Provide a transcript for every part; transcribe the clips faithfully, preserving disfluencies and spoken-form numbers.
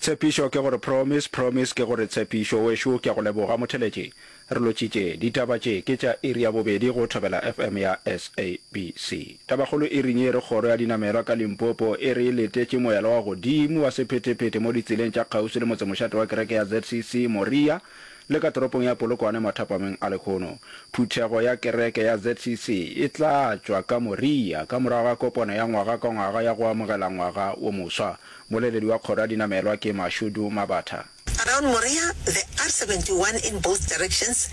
Tshepišo ke gore promise, promise ke gore tshepišo. Wešo ke a go leboga motheletši. Re lotšitše. Ditaba tše ke tša iri ya bobedi go Thobela FM ya SABC. Tabakgolo iring ye e re kgoro ya dinamelwa ka Limpopo e re e letetše moela wa godimo wa sephetephete mo ditseleng tša kgauswi le motsemošate wa kereke ya ZCC Moria le ka toropong ya Polokwane mathapameng a lehono. Phuthego ya kereke ya ZCC e tla tšwa ka Moria ka morago ga kopano ya ngwaga ka ngwaga ya go amogela ngwaga wo moswa. Moleledi wa kgoro ya dinamelwa ke Mashudu Mabatha. Around Moria, the R seventy one in both directions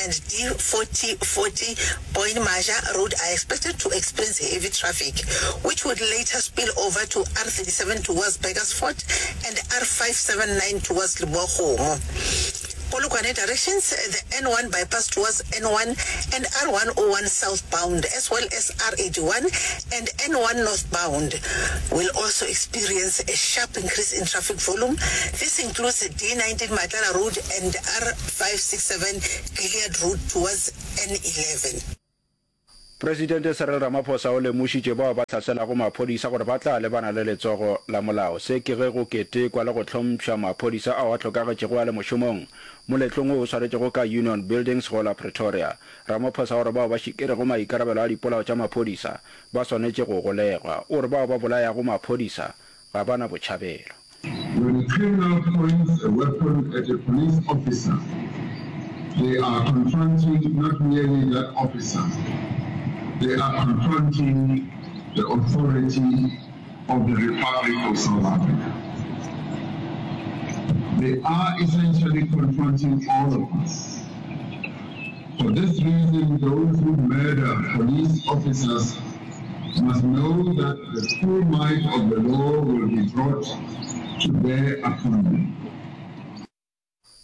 and D forty forty Boyne Maja road are expected to experience heavy traffic, which would later spill over to R thirty seven towards Burgersfort and R five seven nine towards Lebowakgomo. Polokwane directions, the N one bypass towards N one and R one oh one southbound, as well as R eighty one and N one northbound, will also experience a sharp increase in traffic volume. This includes D nineteen Matlala Road and R five six seven Gilead Road towards N eleven. Presidente Cyril Ramaphosa o lemošitše bao ba hlaselago maphodisa gore ba tla lebana le letsogo la molao. Se ke ge go ketekwa le go hlompšha maphodisa ao a hlokagetšego a le mošomong moletlong wo o swaretšego ka Union Buildings go la Pretoria. Ramaphosa o re bao ba šikerego maikarabelo a dipolao tša maphodisa ba swanetše go golegwa. O re bao ba bolayago maphodisa ga ba na botšhabelo. When a criminal points a weapon at a police officer, they are confronting not merely that officer, they are confronting the authority of the Republic of South Africa. They are essentially confronting all of us. For this reason, those who murder police officers must know that the full might of the law will be brought to bear upon them.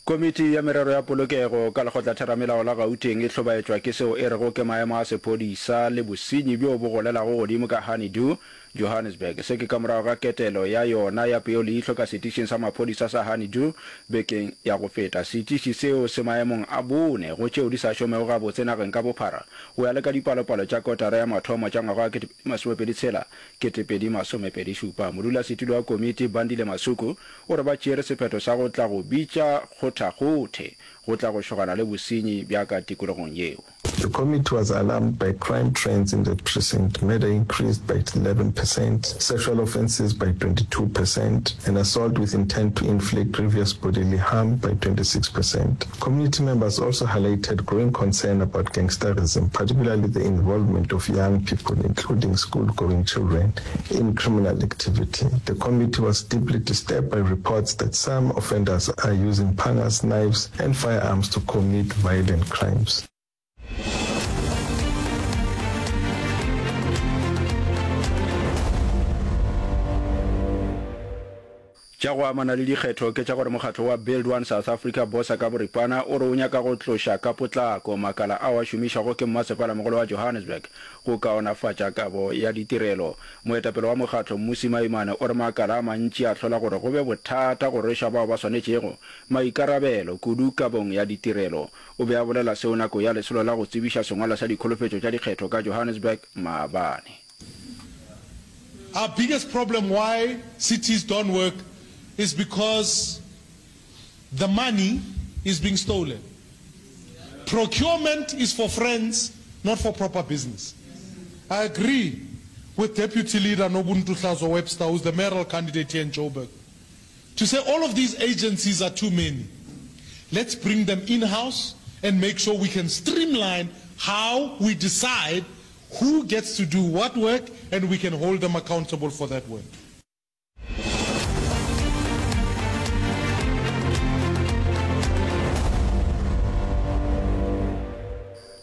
Komiti ya Merero ya Polokego ka Lekgotlatheramelao la Gauteng e hlobaetšwa ke seo e rego ke maemo a sephodisa le bosenyi bjo bo golelago godimo ka Honeydew, Johannesburg. Se ke ka morago ga ketelo ya yona ya peoleihlo ka setišing sa maphodisa sa Honeydew bekeng ya go feta. Setiši seo se maemong a bone go tšeo di sa šomego gabotse nageng ka bophara go ya le ka dipalopalo tša kotara ya mathomo tša ngwaga wa kete pedi masomepedi tshela, kete pedi masomepedi šupa. Modulasetulo wa komiti, Bandile Masuku, o re ba tšeere sephetho sa go tla go bitša kgothakgothe go tla go šogana le bosenyi bja ka tikologong yeo. The committee was alarmed by crime trends in the precinct, murder increased by eleven percent, sexual offences by twenty-two percent, and assault with intent to inflict grievous bodily harm by twenty-six percent. Community members also highlighted growing concern about gangsterism, particularly the involvement of young people, including school-going children, in criminal activity. The committee was deeply disturbed by reports that some offenders are using pangas, knives, and firearms to commit violent crimes. Tša go amana le dikgetho ke tša gore mokgatlo wa Build One South Africa, BOSA ka boripana, o re o nyaka go tloša ka potlako makala ao a šomišwago ke mmasepalamogolo wa Johannesburg go kaonafatša kabo ya ditirelo. Moetapele wa mokgatlo, Mmusi Maimane, o re makala a mantši a hlola gore go be bothata go rweša bao ba swanetšego maikarabelo, kudu kabong ya ditirelo. O be a bolela seo nako ya lesolo la go tsebiša sengwalwa sa dikholofetšo tša dikgetho ka Johannesburg maabane. Our biggest problem why cities don't work is because the money is being stolen. Procurement is for friends, not for proper business. I agree with Deputy Leader Nobuntu Hlazo-Webster, who's the mayoral candidate here in Joburg, to say all of these agencies are too many. Let's bring them in-house and make sure we can streamline how we decide who gets to do what work and we can hold them accountable for that work.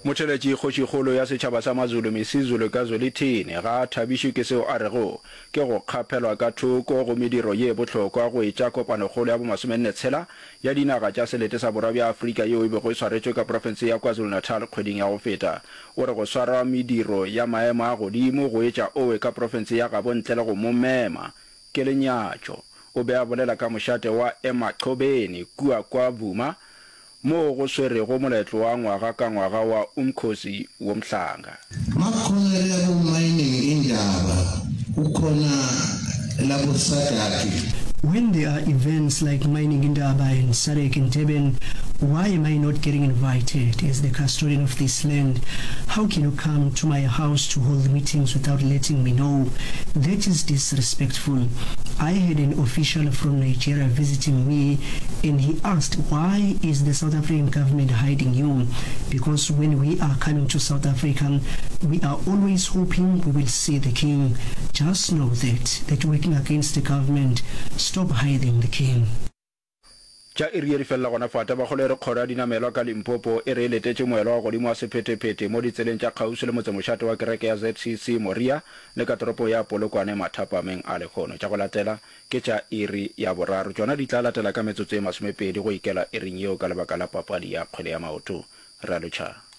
Motheeletši Kgošikgolo ya setšhaba sa Mazulu Misizulu ka Zwelithini ga a thabišwe ke seo a rego ke go kgaphelwa ka thoko go mediro ye bohlokwa go etša kopanokgolo ya bomasomenne tshela ya dinaga tša selete sa borwa bja Afrika yeo e bego e swaretšwe ka profense ya KwaZulu-Natal kgweding ya go feta. O re go swarwa mediro ya maemo a godimo go etša owe ka profense ya gabo ntle le go mo mema ke lenyatšo. O be a bolela ka mošate wa Emachobeni kua Kwa Vuma moo go swerego moletlo wa ngwaga ka ngwaga wa Umkhosi Womhlanga. Makhona le labo Mining Indaba, kukhona labo SADC. When there are events like Mining Indaba and SADC in Durban, why am I not getting invited as the custodian of this land? How can you come to my house to hold meetings without letting me know? That is disrespectful. I had an official from Nigeria visiting me and he asked, why is the South African government hiding you? Because when we are coming to South Africa, we are always hoping we will see the king. Just know that, that working against the government, stop hiding the king. Tša iri ye di felela gona fa. Tabakgolo e re kgoro ya dinamelwa ka Limpopo e re e letetše moelo wa godimo wa sephetephete mo ditseleng tša kgauswi le motsemošate wa kereke ya ZCC Moria le ka toropong ya Polokwane mathapameng a lehono. Tša go latela ke tša iri ya boraro. Tšona di tla latela ka metsotso ye masomepedi go ikela iring yeo ka lebaka la papadi ya kgwele ya maoto. Re a lotšha.